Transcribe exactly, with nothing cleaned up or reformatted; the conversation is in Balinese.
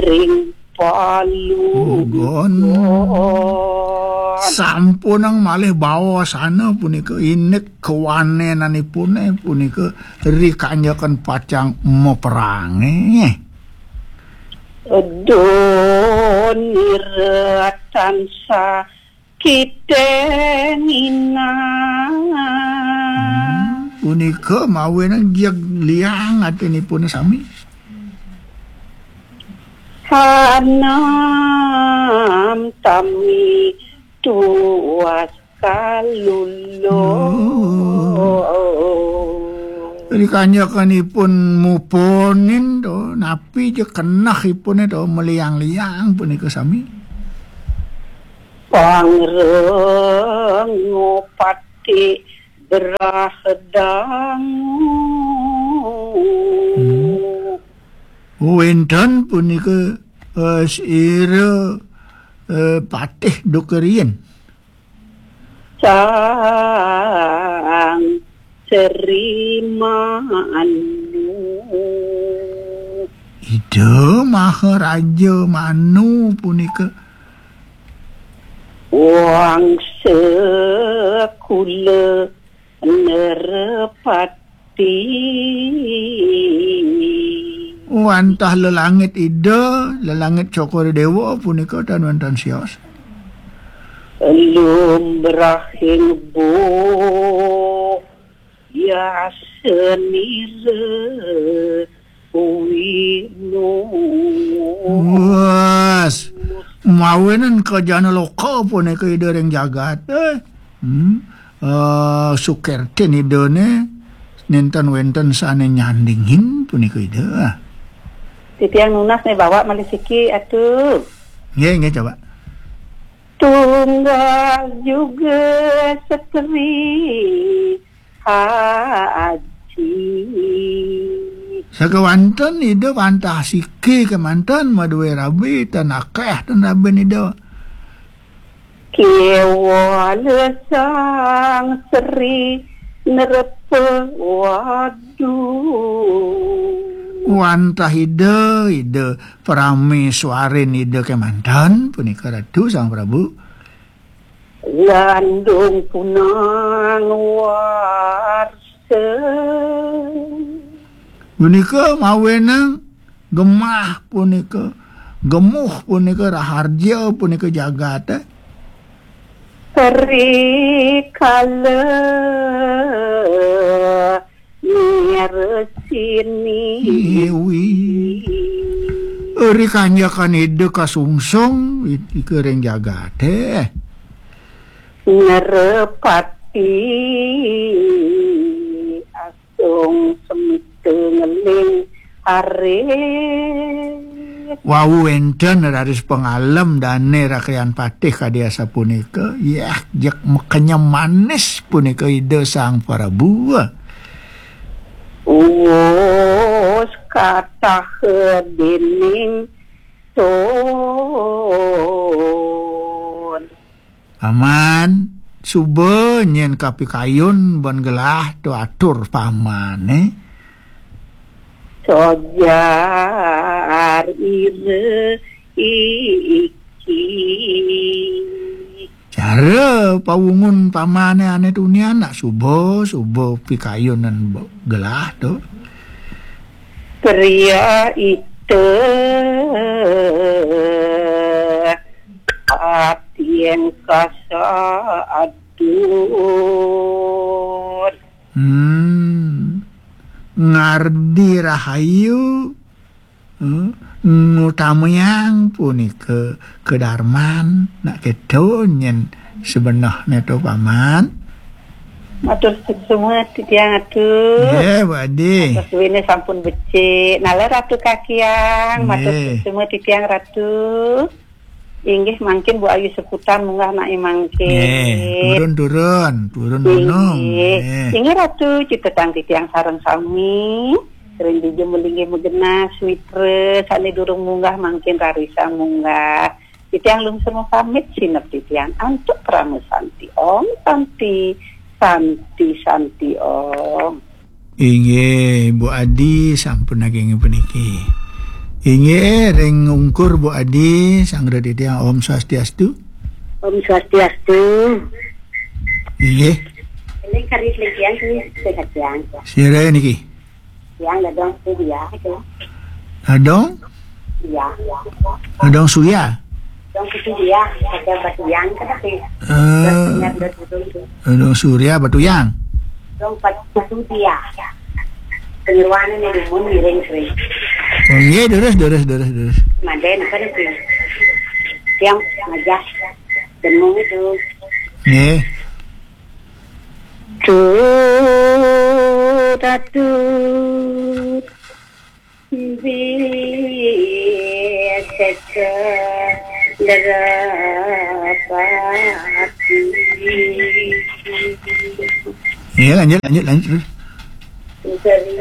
ring palu. Sampun malih bawasana punika, indik kawanenanipune punika rikanjakan pacang maperange. Donira tansah kita nginang. Hmm, punika mawinan jeg liang atinipune sami. Hanam tami tuas kalulo. Rikanjakanipun muponin to, napi ja kenehipune to, maliang-liang punika sami. Pangrengo pati berah dangu. Hmm. Wenten punika, eh, sira, eh, patih dukerien. Sang Sri Manu. Ida Maharaja Manu punika. Wangsa kula nerepati. Wantah lelangit Ida, lelangit Cokor Dewa punika tan wenten sios. Lumrahing bo yasenira winu. Wes, mawinan kajana loka punika Ida ring jagat. Eh. Hmm. Eh, sukertin Idane, nenten wenten sane nyandingin punika Ida. Titiang nunas ne bawa malih siki, atu. Nggih, nggih, coba. Tunggal juga setri haji. Sakawanten Ida wantah siki kemanten madue rabi tan akeh tan rabin Ida. Kewala Sang Sri Nerpa wadu. Wantah Ida, Ida Prameswarin Ida kemanten punika Ratu Sang Prabu. Landung punang warsa. Punika mawenang gemah punika, gemuh punika, raharja punika jagate. Rikala mirsini. Dewi. Rikanjakan Ida kasungsung, ika ring jagate. Nerepati asung semita ngeling arit. Wau wenten raris pangalem dane Rakyan Patih kadi asapunika. Yah, jeg makenyem manis punika Ida Sang Prabu. Uus katah dening sun. Paman, suba nyen kapikayun ban gelah to atur pamane. Sojar ira iki. Cara pawungun pamane ane tunian nak suba, suba pikayunan bo-, gelah to. Pria ita ati yang kasa adur. Hmm. Ngardi rahayu, eh, ngutamayang punika kedarman, nak keto nyen sebenehne to, Paman. Matur suksma titiang atu. Nggih, Bu Adi. Atas suwene sampun becik. Nala Ratu Kakiang, matur nggih. Suksma titiang Ratu. Inggih mangkin Bu Ayu Seputan munggah nai mangkin. Nggih, turun, turun, turun gunung. Inggih. Nggih. Inggih Ratu, citetang titiang sareng sami. Ring dija melinggih magenah, suitra, sane durung munggah mangkin rarisang munggah. Titiang lungsur pamit sinep titiang antuk parama santi. Om Santi, Santi, Santi Om. Inggih, Bu Adi sampun naging puniki. Inggih, ring ungkur Bu Adi, sanggra titiang Om Swastiastu. Om Swastiastu. Inggih. Ini kari lagi yang sini sehat yang. Sira niki. Yang ladang tu dia tu. Ladang? Iya. Ladang Surya. Ladang tu dia, ada batu yang kan tapi. Eh, Ladang Surya Batu Yang. Ladang batu dia. Penyeruan ini dumun miring sering. Oh, iya, terus, terus, terus, terus. Manden apa nih? Yang ngajak demu itu. Nggih. Tut atut biseka derapati. Iya, lanjut, lanjut, lanjut. Dari